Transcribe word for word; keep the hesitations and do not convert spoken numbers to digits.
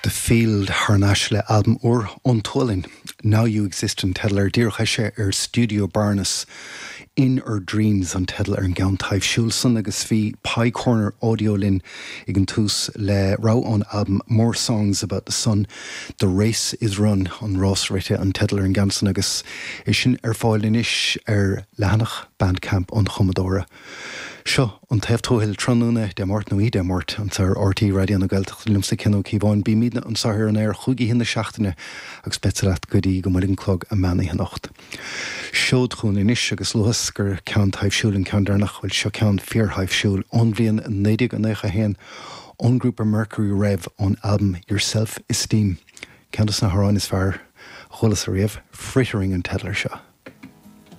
The Field thar n-ais le albam úr ón tSualainn. Now You Exist an teideal air díreach eisithe ar Studio Barnes. In Our Dreams an teideal ar an gceann taibhsiúil san agus bhí Pie Corner Audio linn ag an tús le rogha ón albam More Songs About the Sun. The Race is Run an rás rite an teideal ar an gceann san agus é sin ar fáil anois ar leathanach Bandcamp an chumadóra. Seo an taobh tuathail tráthnóna Dé Máirt nó Dé Máirt anseo ar RTÉ Raidió na Gaeltachta liomsa Cian Ó Cíobháin bímidne anseo ar an aer chúig oíche na seachtaine agus beidh leat go dtí go mbuailfidh an clog an meán oíche anocht. Seod chugainn anois agus luas gur ceann taibhsiúil an ceann deireanach bhfuil seo ceann fíorthaibhsiúil ón bhliain naoi déag nócha haon ón grúpa Mercury Rev ón album Your Self Esteem. Ceann de na hamhráin is fearr a chualas riamh frittering an teideal air seo.